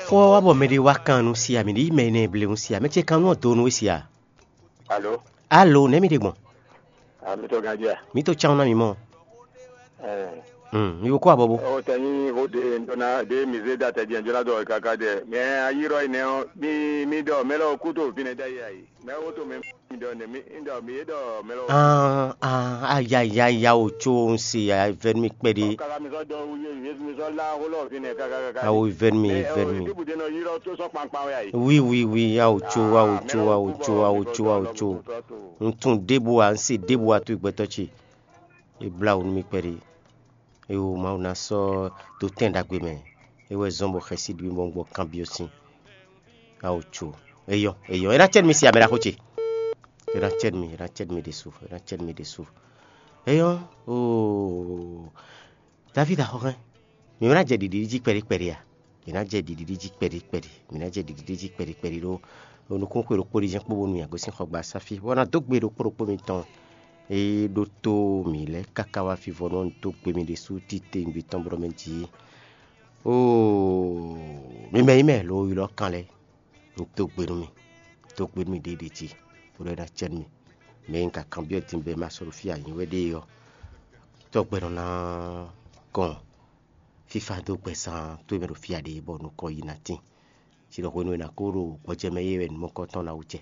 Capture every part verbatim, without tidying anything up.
Kpɔ́ wá bɔ mɛɖé wá kan nú sia, mǐ ɖi mɛ énɛ́ ble nú sia, mɛ ce kan nú ɔ́ do nú we sia. Alo, Alo, nɛ̌ mi ɖe gbɔn? A mi tɔ gán jɛ. Mǐ to cán ná mi mɔ. Ɛɛ, Hmm, mi ko kó abɔbo. O tɛ nyi o de ndo na de mi ze da tɛ jɛ jɔ la dɔ kaka dɛ. Mɛ ayirɔ yi nɛ o, mi mi dɔ mɛ lɔ kuto fine da yi ayi. Mɛ o to mɛ mi dɔ ne mi dɔ mi ye dɔ mɛ lɔ. Ah, ah, ayayaya o tso un se ya vɛn mi kpɛɖe. Kaka mi sɔ dɔ wu ye mi sɔ la o lɔ fine kaka kaka. Awo vɛn mi, vɛn mi. Ti bu de nɔ yirɔ to sɔ kpankpan wɛ ayi. Oui, oui, oui, awo tso, awo tso, awo tso, awo tso, awo tso. Un tun ɖěbǔ a, un se ɖěbǔ a to gbɛtɔ́ ce. E blá wǔ nú mì kpɛɖé. Eo Mawu ná sɔ́ dó tɛn ɖagbe mɛ. É wɛ zɔ́n bɔ xɛsi ɖi mì bɔ un gbɔ kanbyɔ́ sín. Ao co. Eyɔ, eyɔ. É ná cɛ nú mi si amɛ ɖaxó ce. É ná cɛ nú mi, é ná cɛ nú mi ɖésú, é ná cɛ nú mi ɖésú. Eyɔ, oo. Davídi axɔ́xɛ́n. Mǐ ná jɛ ɖiɖi jí kpɛɖé kpɛɖé a? Mǐ ná jɛ ɖiɖi jí kpɛɖé kpɛɖé. Mǐ ná jɛ ɖiɖi jí kpɛɖé kpɛɖé ɖó nukúnxwe ɖokpó ɖi jɛ́n kpó bónú mǐ gosín xɔgbasá fí, bɔ ná dó gbe ɖokpó ɖokpó mitɔn e ɖótó mǐ lɛ́ɛ káká wá fí vɔ nú dó gbe mì ɖésú titewungbe tɔn blɔ́ mɛ jí. Oo, mi mɛ nyí mɛ lo ylɔ́ kan lɛ́ɛ, un dó gbe nú mi, dó gbe nú mi ɖěɖě jí, bó ɖɔ é ná cɛ nú mi. Mɛ e un ka kanbyɔ́ din bɔ è ma sɔ́ ɖo fí ǎ nyí wɛ ɖe ɔ́, tɔ́gbɛ nɔ ná kɔn fífá dó gbɛzán towe mɛ ɖo fí ǎ ɖe bɔ nukɔn yi ná tín. Ci ɖɔ hwenu e è nǎ ko ɖo gbɔjɛ́ mɛ é wɛ nǔmɔkɔ́ tɔn ná wú jɛ.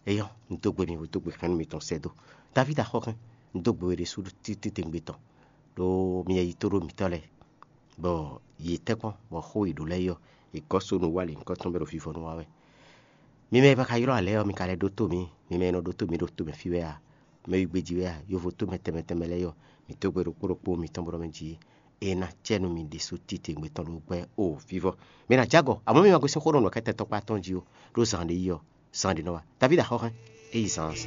Éyɔ́, un dó gbe mi, un dó gbe xɛ́nú mitɔn sɛ́ dó. Davídi axɔ́kɛ́n, un dó gbe we ɖésú titewungbe tɔn, ɖó mi yɛ yi tó ɖó mǐtɔn lɛ́ɛ, bɔ yě tɛ́nkpɔ́n, bɔ xó e è ɖǒ lɛ́ɛ é ɔ́, è gɔ́ so nú wá lě nyǐkɔ tɔn bɔ é ɖo vivɔnu wa wɛ. Mi mɛ e ma ka ylɔ́ ǎ lɛ́ɛ ɔ́, mi ka lɛ́ ɖótó mǐ. Mi mɛ e nɔ ɖótó mǐ ɖo tomɛ fí wɛ a, mɛ e gbejí wɛ a, yovo tomɛ tɛnmɛ tɛnmɛ lɛ́ɛ é ɔ́, mǐ dó gbe ɖokpó ɖokpó mitɔn bɔ mɛ jí é ná cɛ nú mi ɖésú titewungbe tɔn ɖó gbɛ́ o vívɔ. Mi ná jɛ agɔ, amɔ̌ mi ma gosín xó nɔ nɔ kɛ́tɛ́ tɔkpá tɔn jí ó, ɖó zan ɖé yi ɔ́, zan ɖé nɔ wá. Davídi axɔ́xɛ́n, é yi zan se.